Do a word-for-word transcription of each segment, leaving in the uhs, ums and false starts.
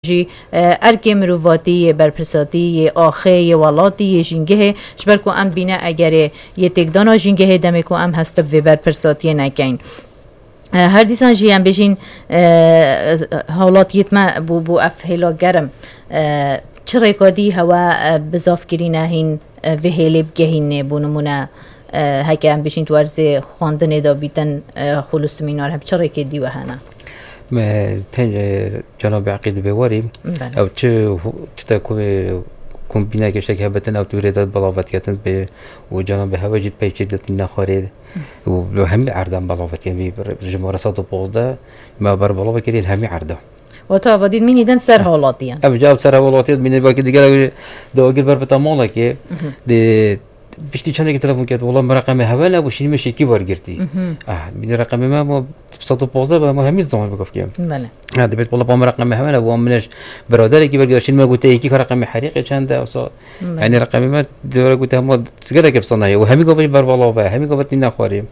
jî, e, erkê mirovatî yê berpirsatî yê axê yê welatî yê jîngehê, ji ber ku em bîne egerê yê têkdana jîngehê demê ku em hest bi vê berpirsatiyê nekeyn. E, her dîsan jî em bêjîn, e, hawlatiyêt me bû, bû ev hêla germ. E, çi rêka dî hewe, e, bizavkirîne hîn, e, vê hêlê bigehînê, bû nimûne, e, heke em bêjîn di werzê xwendinê de bîtin, e, xul û simînar, hem çi rêkê dî we hene? Me tenê cenabê Eqîd bê warî, Belê. ew çi, çi te ku, kombîneke şek hebetin, ew tu rê de belavetketin bê û cenabê hewe jî peyçê de tîne xwarê û hemî erdan belavetken vî jimare sed û pazdeh me ber belavetkirî hemî erda. Wata ava dît mînî din ser hawlatiyan. Ev cevap ser hawlatiyan mînî belkî digel ew de agir ber bita malekê. Dê piştî çendekî telefon kert, wala min reqemê hewe nebû, şînî min şêkî wergirtî. Ah, bînî reqemê me ma sed û pazdeh be, ma hemî zaman bigov kêm. Belê. Ha, dibêt, wala pa min reqemê hewe nebû, wan min ji biraderekî wergirtî, şînî me gote yekî ka reqemê herîqê çend e, wisa, Belê. yanî reqemê me dewre gote hema gelek bi sana ye. Û hemî gava jî berbalav e, hemî gava tîne xwarê.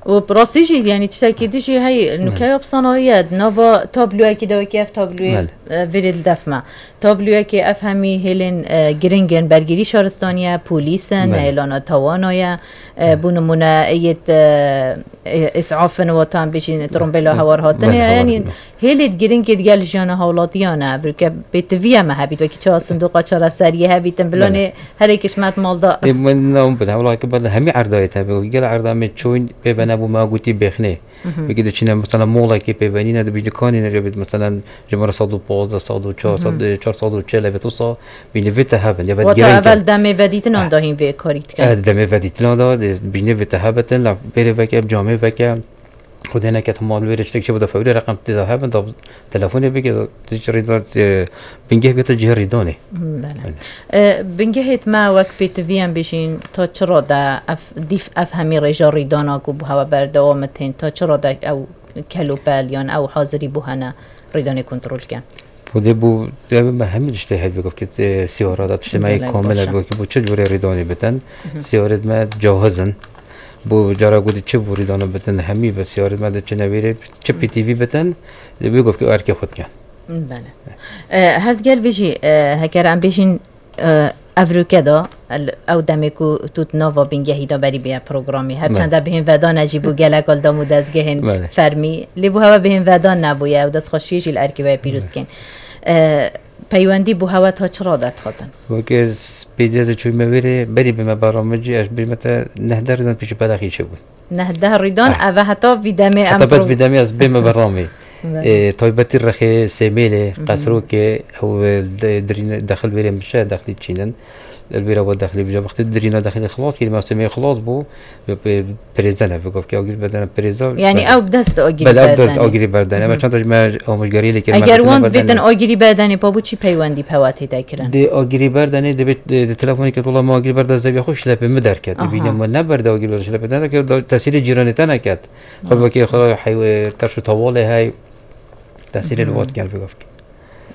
Û bi rastî jî, yanî tiştekî din jî hey, Belê. nukeya bi sana ye, di nava tabloyekî de wekî ev tabloyê, Belê. e, vêrê li def me. Tabloyekê ev hemî hêlên, e, giring in, bergirî şaristaniye, polîs in, Belê. hêlana tawana ye, e, Belê. bû nimûne yêt, e, e, îsaf in, watan bêjîn, trombêla Belê. hewar hatine Belê, ye, hewar yanî hatine. hêlêt giringê digel jiyana hawlatiyan e, ev rûke pêtiviye me hebît, wekî çawa sindoqa çareseriyê hebîtin, Belê. bilanê herêkê ji me di mal de. Ê, min nam bin, hewla ki berde hemî erdayê te bi, gel erda me çûn, pê ve nebû me gotî bêxnê. Mhm. Wekî diçîne, mesela, molekê pêvenîne, dibî dikanîne, rê bit, mesela, ji me re sed û pazdeh, sed û çar, Mhm. sed, çar sed û çel, ev wisa bînî vê te hebin, ya ve Wata giring e. evel demê vedîtinan da hîn vê karî dikin. Eh, demê vedîtinan da, dê bînî vê te hebetin, la bêrê veke, camê veke, xwedê neket mal wê rê tiştek çi bide fewrî reqem tê da hebin, da telefonê bike, da hiç rîda, e, bingeh bike cihê rîdanê. Belê. Belê. E, bingehêt me wek pêtivî em bêjîn, ta çi rade ev, dîf ev hemî rêja rîdana ku bi hewe berdewam tên, ta çi rade ew kelopel yan ew hazirî bû hene rîdanê kontrol ke? Xwedê bû, ev me hemî tiştê hevî gov kit, e, siyara da tiştê me Gelek komel baş e. hevî gov kit, bû çi cûrê rîdanê bitin. Mhm. Siyarêt me cahiz in. Bû cara ku di çi bû rîdana bitin, hemî bi siyarêt me de çi newêrê, çi Hı. P T V bitin, wê gov kit erkê xwe dikin. Belê. E, her diger vê jî, e, heker em bêjin, e, ev rûke da, el-, ew demê ku tu di nava bingehî de berî bêye programî. Her Me. çenda bihên vedane jî bû gelek al dam û dezgehên Belê. fermî. Lê bû hewe bihên vedan nebûye, ew destxweşiyê jî li erkê we pîroz Me. dikin. E, peywendî bû hewe ta çi rade dihatin? Weke s-, pêdî ez çûme wêrê, berî bime beramê cî, ez bême te neh der zan pişî pelaxî çi bûn. Neh deh rîdan, Ah. eve heta vî demê em Heta bes pro- vî demê ez bême beramê. Belê. E, taybetî rexê, Sêmêlê, Mhm. Qesrokê, ew, e, de-, dirîne dexil wêrê min şe, dexlî çînin. El wêra we dexlî bija. Wextê dirîna dexlî xilas kirî, mevsimê xilas bû, ve pe-, pirêzene, ve gov ki agir bedene pirêza. Yani Belê. ew bi dest agirî Belê, ew bi dest berdene. agirî berdene. Mhm. Ve çend me amûjgariyê lê kir, Eger me wan tiştine bêtin berdene. agirî berdenê, pa bo çi peywendî pewa tê de kirin? Dê agirî berdenê, dibê, dê, dê telefonê kir, wela me agirî berde zevya xwe şilepê min derket. Aha. Bîne me neberde agirî berde şilepê te neket, da tesîrê cîranê te neket. Xwe Rast. vekê xwe heywe terş û tawalê hey. Tesîrê li Mhm. wat gel bigov ki.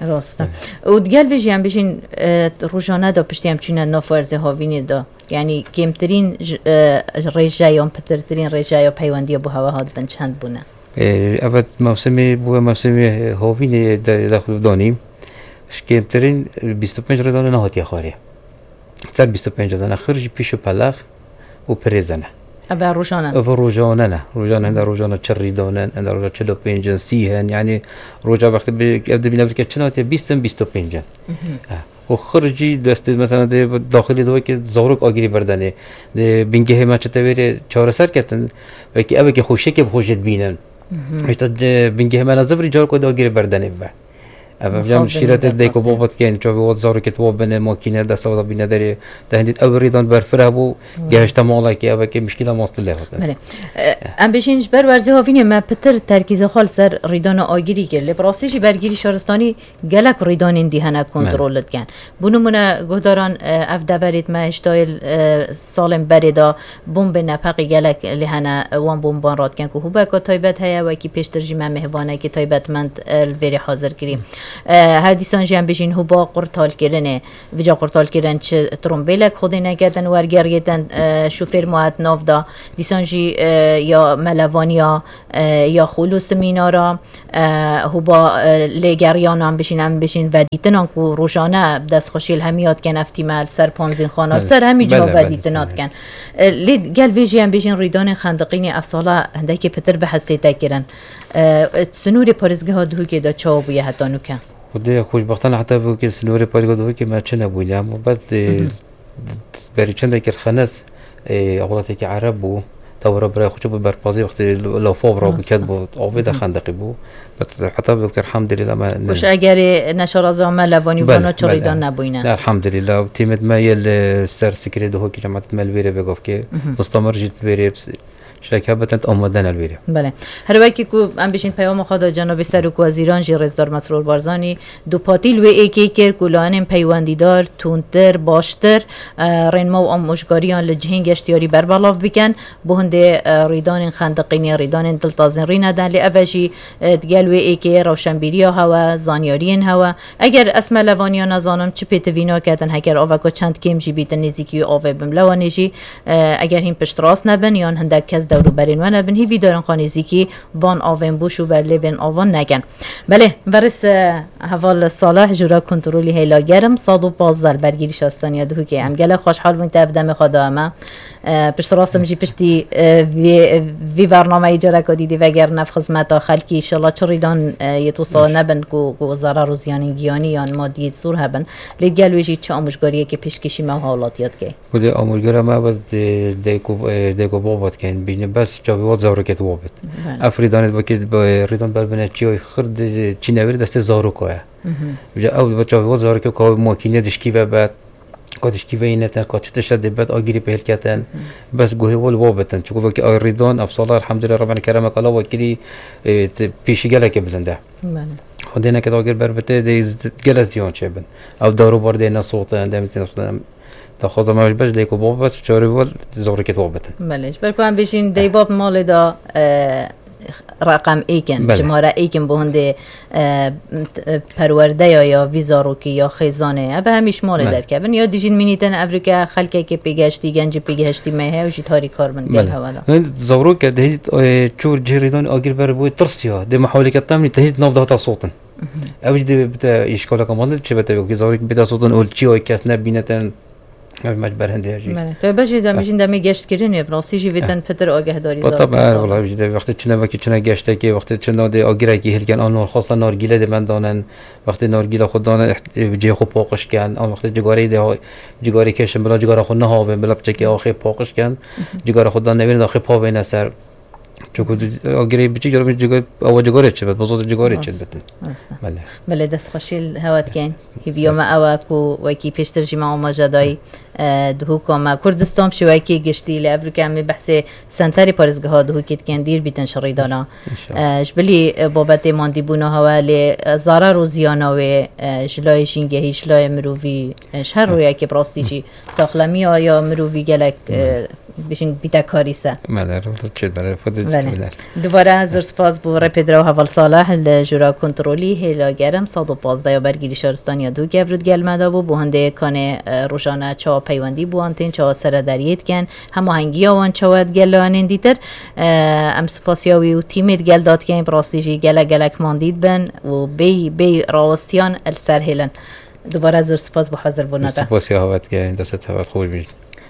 Rast e. Evet. Û digel vê jî em bijîn, e, rojane de piştî em çûne nav werzê havînê de. Yani kêmtirîn j-, e, rêje yan pitirtirîn rêje ya peywendiya bo hewe hat bin çend bûne? E, evet, mevsimê, bu mevsimê havînê de, de xwe danî. Ji kêmtirîn, e, bîst û pênc rêzane nehatiye xwarê. Ser bîst û pênc rêzane, xir jî pîş û pelex û pirêzene. Eve rojane. Eve rojane ne. Rojane hende rojane çi rîdanen, hende roja çil û pênc in, sî hen. Yani roja wextê bi, ev dibîne vike çi natiye, bîst in, bîst û pênc in. Mhm. Ha. Û xir jî destê, mesela, dê daxilî de wekî zarok agirî berdenê. Dê bingehê me çi tevêrê çareser ketin, wekî ev wekî xweşekê bi xwe jê dibînin. Mhm. Hêşta, e, bingehê me ne zivirî, carok dê agirî berdenê bibe. Ev, ev Mixabin jam şîretê dê ku derxastin. baba dikên, çavê wat zarokê tu bine, makîne desta da bîne derê, de hindî ew rîdan berfireh bû, Hmm. gehişte malekê, ev wekî mişkîla mastilê hatin. Belê. E, em bêjin ji ber werzê havînê me pitir terkîza xwe li ser rîdana agirî kir. Lê bi rastî jî bergirî şaristanî gelek rîdanên dî hene kontrol Belê. dikin. Bo nimûne guhdaran, e, ev deverêt me hêştayê, e, salên berê de bombê nepeqî gelek lê hene, e, wan bomban radikin ku hûbeka taybet heye, wekî pêştir jî me mêvanekî taybetmend, e, li vêrê hazir kirî. Hmm. E, her dîsan jî em bijîn hûba qurtalkirinê. Vêca qurtalkirin çi trombêlek xwedê neketin wergeriyê din, e, şofêr ma het nav da. Dîsan jî, e, ya melevaniya, e, ya xolo semînara, e, hûba, e, lêgeriyanan bijîn, em bijîn vedîtinan ku rojane bi destxweşî li hemiya dikin ev tîme li ser panzîn xana, li ser hemî ciha vedîtina dikin. E, lê gel vê jî em bijîn rîdanên xendiqînê ev sala hindekî pitir bi hestê te kirin. E, e, sinûrê parêzgeha Duhokê de çawa bûye heta nûke? Xwedê xweşbextana heta vê ke sinûrê parêzgeha Duhokê me çi nebûne, em bes, e, berî çendekî xenes, e, ewlatekî Ereb bû, tewra birayê xwe çi bû berpazî wextê lafa bira bû, ket bû, avê de xendeqî bû. Bes heta vê ke elhamdülillah me ne- Kuş egerê neşaraza me levanî vana çi rîdan nebûyne. Ne, elhamdülillah. Tîmêt me yê li ser sikirê Duhokê, cemaetê me li vêrê vê gavkê. Mustamir jî li vêrê. Şek hebitint amade ne li vêrê. Belê. Her wekî ku em bijîn peyama xwe da cenabê Serokwezîran jî Rêzdar Mesrûr Barzanî dûpatî li wê êkê kir ku layenên peywendîdar tundtir, baştir, e, rênma û amûjgariyan li cihên geştiyarî berbelav bikin. Bo hindê, e, rîdanên xendiqînê, rîdanên diltazîn rî nedin. Lê ev e jî, e, digel wê êkê rewşenbîriya hewe, zanyariyên hewe. Eger ez me levaniya nezanim çi pêtivî naketin, heger aveko çend kêm jî bîtin nêzîkî wê avê bim. Lewanê jî, e, eger hîn piştrast nebin yan hindek kes dewrûberên we nebin, hîvî darin xwe nêzîkî van avên bûş û berlêvên avan nekin. Belê, berêz, e, heval Salih, Jûra Kontrolî Hêla Germ, sed û pazdeh li bergîrî Şaristaniya Duhokê. Em gelek xweşhal bûn te ev demê xwe da me. E, pişt rastim jî piştî, e, vê, vê bernameyê careka dî dê vegerin ev xizmeta xelkî. Înşallah çi rîdan, e, yê wisa nebin ku, ku zarar û ziyanên giyanî yan madî zor hebin. Lê gel wê jî çi amûjgariyekê pêşkêşî me û hawlatiya dikey. Xwedê amûjgara me bi dê-, dayk û, e, dayk û baba dikeyin. Bîne bes çavê wat zarokê di wabit. Belê. Ev rîdanê dibakê, bi rîdan ber bine çiyayê xir di çî newêrê destê zaroka ye. Ji ew bi çavê wat zarokê ka makîne dişkî ve bet. Ka dişkî veyî netin, ka çi tişt dê bet, agirî pê hilketin. Bes guhê wal wa bitin. Çiku vekî ay rîdan, ev sala elhamdülillah Rabbena keremek ala wa kirî, e, t-, pêşî gelekê bilind e. Belê. Xwedê neket agir ber bite, dê z-, gelek ziyan çêbin. Ew dewro bar dê nesotin, demê tê nesotin. Daxwaza me bes dê ku bab bes çarê wal zorê ket wa bitin. Belê. Ji ber ku em bêjin dê bab malê da, e, reqem êkin, Belê. Cimare êkin bo hindê, e, t-, e, perwerdeya ya vî zarokî ya xêzanê, ev hemî ji malê Belê. Derkevin. Ya dijîn mînîtin evrike xelkekê pêgeştî, gencî pêgeştî me heye û jî tarî kar bin gel Belê. Hewala. Hin zarok e, dehît, e, çûr cihê rêdan agir ber bûyê tirsiya. Dê mehawleke temnî tehît nav dahata sotin. Ew jî dê bite îşkaleke mezin çi bite, wekî zarok bide sotin û çi ay kes nebînetin. Ev me ji ber hindê jî. Belê. Te bejê de Eh. mijin demê geştkirinê, bi rastî jî vê Eh. din pitir agahdarî Ba zaf tabi, her bû. Wala jî de wextê çine wekî çine geştekê, wextê çine dê agirek jî hilken, an xwesta nargîle dê me danin, wextê nargîle xwe danin, iht-, cihê xwe paqij ken, an wextê cigareyê dê ha-, cigarê keşin, bila cigara xwe nehavin, bila piçekê axê paqij ken, cigara xwe dan newêrin de axê pavêne ser. Çunku agirê biçî, cara min cigar, ewa cigarê çi bet, bozot cigarê çi Rast, betin. Rast e. Belê. Belê, destxweşî li hewe dikeyn. Hîviya me ew e ku wekî pêştir jî me amaje dayî, e, Duhok a me. Kurdistan bi şêwekê giştî, lê evrûke em ê behsê senterê parêzgeha Duhokê dikin, dîr bîtin ji rîdana. Înşallah. E, ji bilî, e, babetê mandîbûna hewe, lê, e, zarar û ziyana wê, e, ji layê jîngehî, ji layê mirovî, e, ji her rûyekê bi rastî jî saxlemiya ya mirovî gelek, e, Bêjin bîte karîse. Belê, rû çêt, belê, xwedê Belê. çêt, belê. Dubare zor spas bo rêpêdira û heval Salih li Jûra Kontrolî Hêla Germ sed û pazdeh ya bergîrî şaristaniya Dû Gevrûd gel me de bû. Bo hindê kanê, e, rojane çawa peywendî bi wan tên, çawa serederiyê dikin, hemahengiya wan çawa digel layanên dîtir. E, em spasiya wî û tîmê digel de dikin, bi rastî jî gelek gelek mandî dibin û bêyî, bêyî rawistiyan li ser hêlin. Dubare zor spas bo hazirbûna te. Spasiya hevat kirin, dest hevat xweş bî.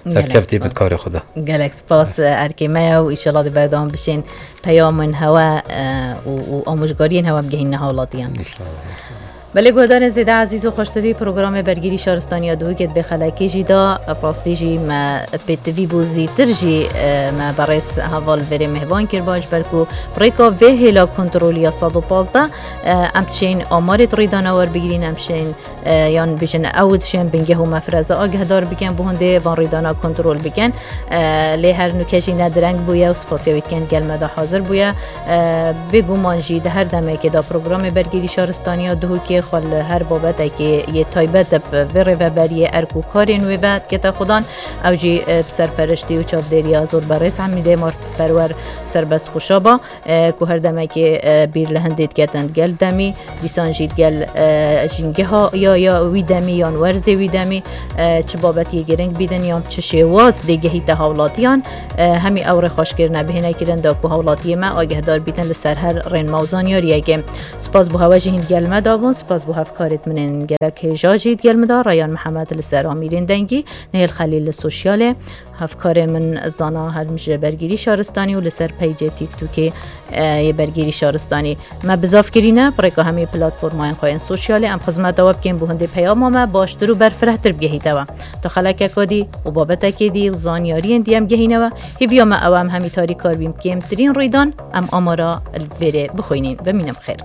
Gelek Serkeftî spas. Bit karê xwe de. Gelek spas, erkê me ye û înşallah dê berdewam bişên peyamên hewe, e, û, û amûjgariyên hewe bigihîne hawlatiyan. Înşallah, înşallah. Belê guhdarên zêde ezîz û xweştivî, programê Bergîrî Şaristaniya Duhokê di vê xelekê jî da, rastî jî me pêtivî bû zîtir jî, e, me berêz heval vêrê mêhvan kir, baş ber ku rêka vê hêla kontrolî ya sed û pazdeh, e, em dişên amarê di rîdana werbigirîn, em şên e, yan bijin ew dişên bingeh û mefreze agehdar bikin, bo hindê van rîdana kontrol bikin. E, lê her nûke jî ne direng bûye û spasiya wî dikin gel me de hazir bûye. E, bêguman jî di her demekê de programê Bergîrî Şaristaniya Duhokê xwe li her babetekê yê taybet bi vê rêveberiyê erk û karên wê ve dikete xudan. Ew jî, e, bi serperiştî û çavdêriya zor berêz Hemîdê Mar Perwer serbest xuşaba, e, ku her demekê, e, bîr li hindê diketin digel demî, dîsan jî digel, e, jîngeha ya, ya wî demî yan werzê wî demî, e, çi babetiyê giring bîdin yan çi şêwaz dê gehîte hawlatiyan, e, hemî ew rêxweşkirine bihêne kirin da ku hawlatiyê me agehdar bîtin li ser her rênma û zanyariyekê. Spas bo hewe jî hîn digel me dabûn, spas bo hevkarêt min ên gelek hêja jî digel min da, Reyhan Mihemed li ser amîrên dengî, Nihêl Xelîl li sosyalê, hevkarê min Zana Helm ji Bergîrî Şaristanî û li ser peycê TikTokê, e, yê Bergîrî Şaristanî. Me bizav kirîne, bi rêka hemî platformayên xwe yên sosyalê em xizmeta we bikên bo hindê peyama me baştir û berfirehtir bigehîte we. Ta xelekeka dî û babetekê dî û zanyariyên dî em gehîne we, hêviya me ew e em hemî tarî kar bîn bi kêmtirîn rîdan, em amara li vêrê bixwînîn. Bimînin bi xêr.